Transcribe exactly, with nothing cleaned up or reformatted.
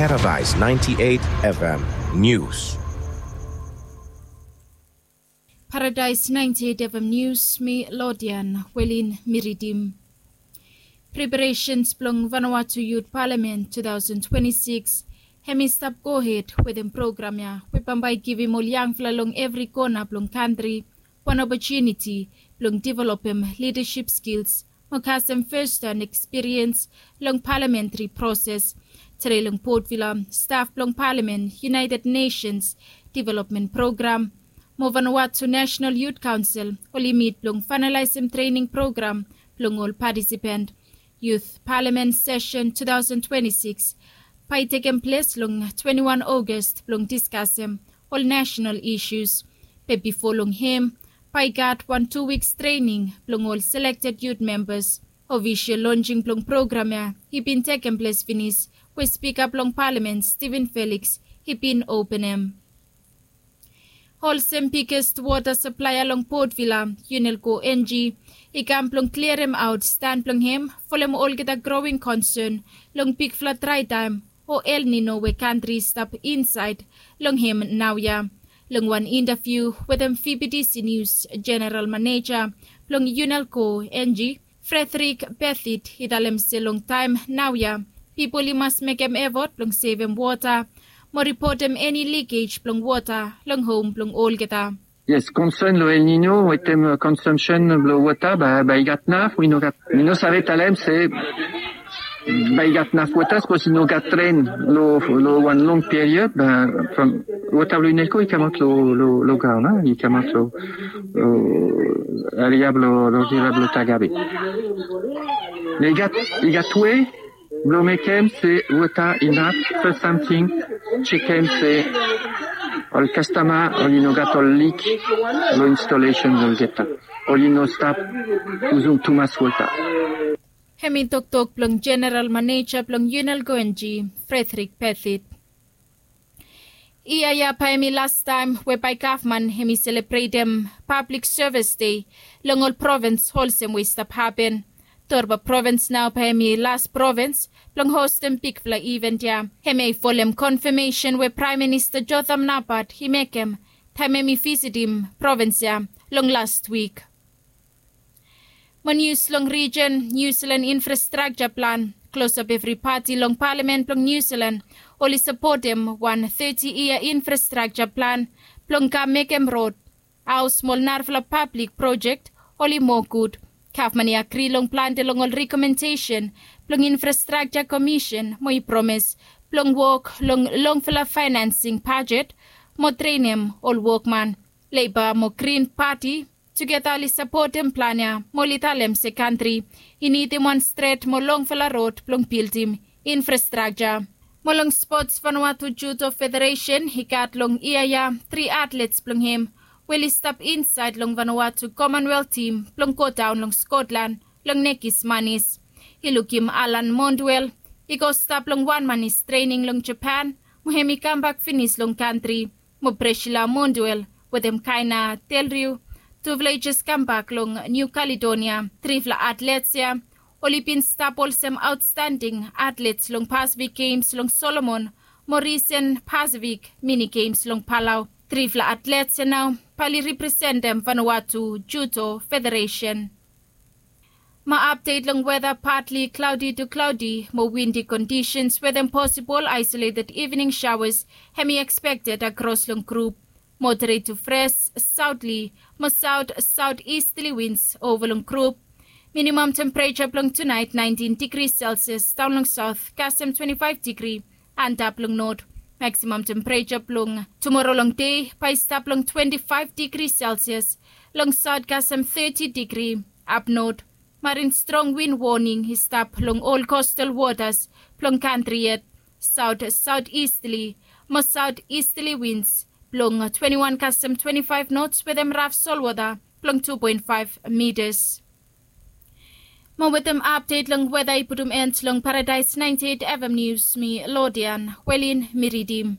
Paradise ninety-eight F M News. Paradise ninety-eight F M News, mi Lodian Welin mi ridim. Preparations blong Vanuatu Youth Parliament two thousand twenty-six hem i stap gohed wetem program ya we bambae i givim ol yangfala long evri kona blong kantri wan opotuniti blong developem lidaship skils mo kasem firsthand ekspiriens long palamentri proses. Tede long Port Vila, staf blong palamen, United Nations Development Program mo Vanuatu National Youth Council oli mit blong fainalaesem trening program blong ol patisipant. Youth Parliament Session two thousand twenty-six bae i tekem ples long twenty-one August blong diskasem ol national issues. Be bifo long hem bae i gat wan tu wiks trening blong ol selekted youth membas. Ofisol lonjing blong program ya i bin tekem ples finis we Spika blong Palamen Steven Felix i bin openem. Olsem biggest wota saplaea long Port Vila, Unelco Engie i kam blong kliaremaot stan blong hem folem olgeta growing concern long bigfala draetaem o El Nino we kantri i stap insaed long hem naoia. Long wan intaviu wetem V B T C News, General Manager blong Unelco Engie, Frederick Bethit i talem se long taem naoia pipol i mas mekem efot blong sevem wota mo ripotem eni likej blong wota long hom blong olgeta. Yes, konsern long El Nino wetem, uh, consumption blong wota, bae, bae i gat naf, we i no gat, mi no save talem se bae i gat naf wota sapos i no gat ren long, long wan long period, bae from wota blong Unelco i kamaot long, long, long graon, a, i kamaot long, long eria blong, long riva blong Tagabe. I gat, i gat wei blong mekem se wota inaf. Fes samting, jekem se ol kastoma oli no gat ol lik long installation blong olgeta. Oli no stap yusum tumas wota. Hem i toktok blong General Manager blong Unelco Engie, Frederick Bethit. Yia ya bae hem i lastaem we bae gavman hem i selebretem Pablik Sevis Dei long ol provins olsem we i stap hapen. Torba provins nao bae hem i las provins blong hostem bigfala iven ya. Hem ya i folem konfamesen we Praem Minista Jotham Napat i mekem taem hem i visitim provins ya long las wik. Mo nius long rijen, Niu Silan infrastrakja plan. Klosap evri pati long palamen blong Niu Silan oli sapotem wan teti yia infrastrakja plan blong kam mekem rod, haos mo ol narafala pablik projek oli moa gud. Gavman i agri long plante long ol rekomendesen blong infrastrakja komisen mo i promes blong wok long longfala faenansing bajet mo trenem ol wokman. Leiba mo Grin Pati tugeta oli sapotem plan ya mo oli talem se kantri i nidim wan stret mo longfala rod blong bildim infrastrakja. Mo long spots, Vanuatu Judo Federesen i gat long yia ya tri atlets blong hem we oli stap insaed long Vanuatu Commonwealth tim blong godaon long Scotland long nekis manis. I lukim Alan Mondwell i go stap long wan manis trening long Japan mo hem i kambak finis long kantri. Mo Priscilla Mondwell wetem Kaina Delriu, tufala i jes kambak long Niu Kaledonia. Trifala atlets ya oli bin stap olsem aotstanding atlets long Pasifik Gems long Solomon mo risen Pasifik Mini Gems long Palau. Trifala atlets ya nao bae oli representem Vanuatu Judo Federesen. Mo apdet long weta, patli klaodi tu klaodi mo windi kondisens wetem posibol aesoleted ivning shaoas hem i ekspekted akros long grup. Moderet tu fres saotli mo saot saotistli wins ova long grup. Minimam tempereja blong tunaet naentin digri Celsius daon long saot kasem twenti faef digri antap long not. Maksimam tempereja blong tumora long dei bae i stap long twenti faef digri Celsius long saot kasem teti digri ap not. Marin strong win woning i stap long ol kostal wotas blong kantri yet. Saot saotistli mo saotistli wins blong twenti wan kasem twenti faef nots wetem raf solwota blong tu poen faef mitas. Mo wetem apdet long weta i putum en long Paradise naenti eit FM Nius, mi Lodian Welin mi ridim.